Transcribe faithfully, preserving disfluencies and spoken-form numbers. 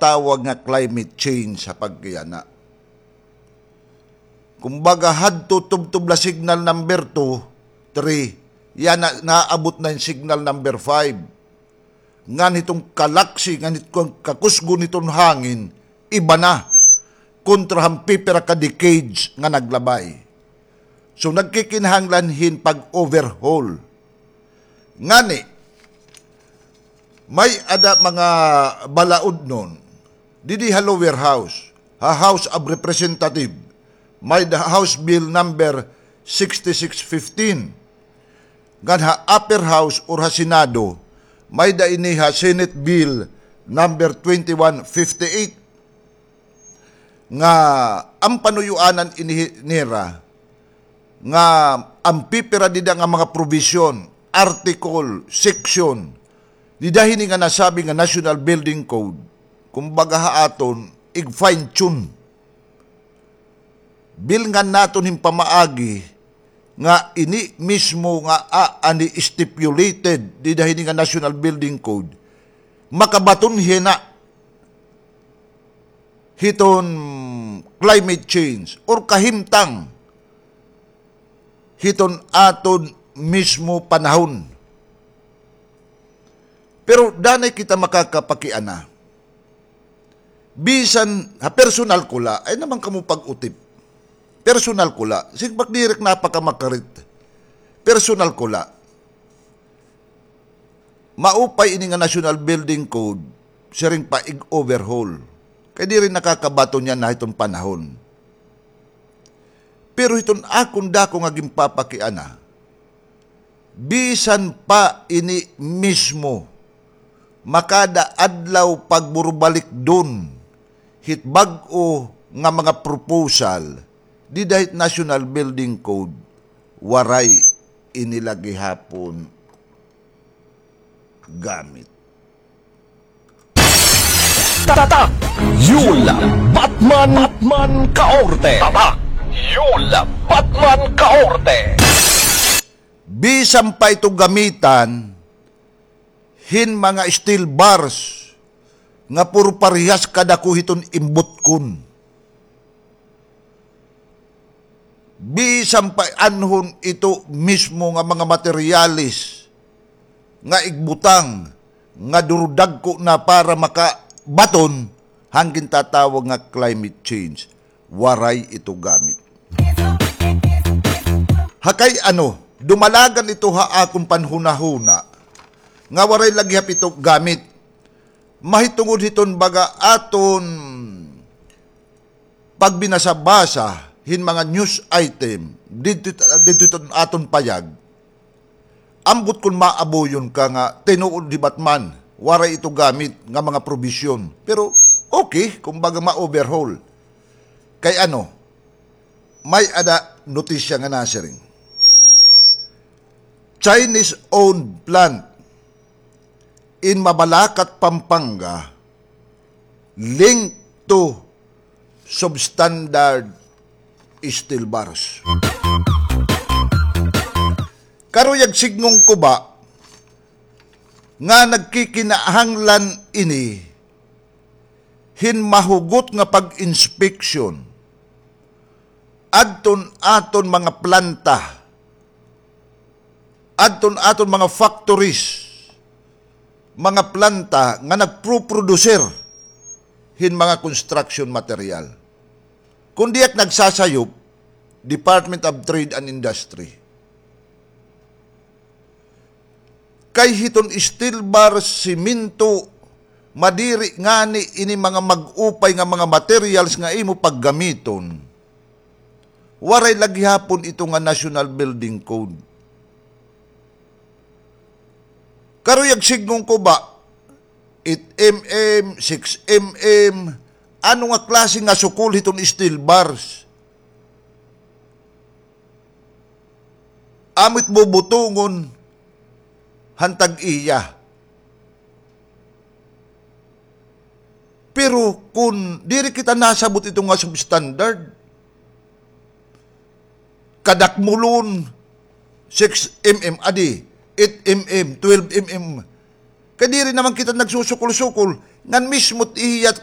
tawag nga climate change ha pagkiana. Kumbaga, hadto tubtob la signal number two, three, yana naabot na hin signal number five. Ngan hiton kalaksi, ngan hiton kakusgon hiton hangin, iba na kontra han pipira ka decades nga naglabay. So, nagkikinahanglan hin pag-overhaul. Ngani, may-ada mga balaudnon didi ha lower house, ha House of Representative, may-ada House Bill number sixty-six fifteen. Ngan ha upper house or ha Senado, may-ada ini ha Senate Bill number twenty-one fifty-eight. Nga an panuyoanan ini nira nga an pipira dida nga mga provision, article, section, dida hini nga nasabi nga National Building Code, kumbaga ha aton, ig-fine-tune. Bilngan naton hin pamaagi nga ini mismo nga aani stipulated dida hini nga National Building Code, makabaton hina hiton climate change or kahimtang hiton aton mismo panahon. Pero danay kita makakapakiana. Bisan ha personal ko la, ay naman kamo pag-utip. Personal ko la. Siring pa ak diri ak napakamakarit. Personal ko la. Maupay ini nga National Building Code, siring pa ig-overhaul. Kay diri nakakabaton yana hiton panahon. Pero hiton akon dako nga ginpapakiana, bisan pa ini mismo, makada adlaw pagburubalikdon hit bag-o nga mga proposal dida hit National Building Code, waray ini la gihapon gamit. Tatak Yul Batman, Batman Kaorte. Tatak Yul Batman Kaorte. Bisan pa ito gamitan hin mga steel bars nga puro parehas kadako hiton imbutkon. Bisan pa anhon ito mismo nga mga materyales nga igbutang nga duro dagko na para makabaton han gintatawag nga climate change, waray ito gamit. Ha kay ano, dumalagan ito ha akon panhunahuna nga waray la gihap ito gamit. Mahitungod hiton baga aton pagbinasa-basa hin mga news item didto, didto aton payag, ambot kon maabuyon ka nga tinuod hi Batman, waray ito gamit nga mga probisyon. Pero okay, kumbaga ma-overhaul. Kay ano, may-ada notisya nga nasiring, Chinese-owned plant in Mabalacat, Pampanga, linked to substandard steel bars. Karuyag sidngon ko ba nga nagkikinahanglan ini hin mahugot nga pag-inspeksyon adton aton mga planta, adton aton mga factories, mga planta nga nagproprodusir hin mga construction material. Kon diak nagsasayop, Department of Trade and Industry. Kay hiton steel bar, semento, madiri ngani ini mga mag-upay nga mga materials nga imo paggamiton, waray la gihapon ito nga National Building Code. Karuyag sidngon ko ba, eight M M, six M M, ano nga klase nga sukol hiton steel bars? Amo it bubutongon han tag-iya. Pero kon diri kita nasabot ito nga substandard, kadakmulon, six M M adi, eight M M, twelve M M. Kay diri naman kita nagsusukol-sukol, ngan mismo it iya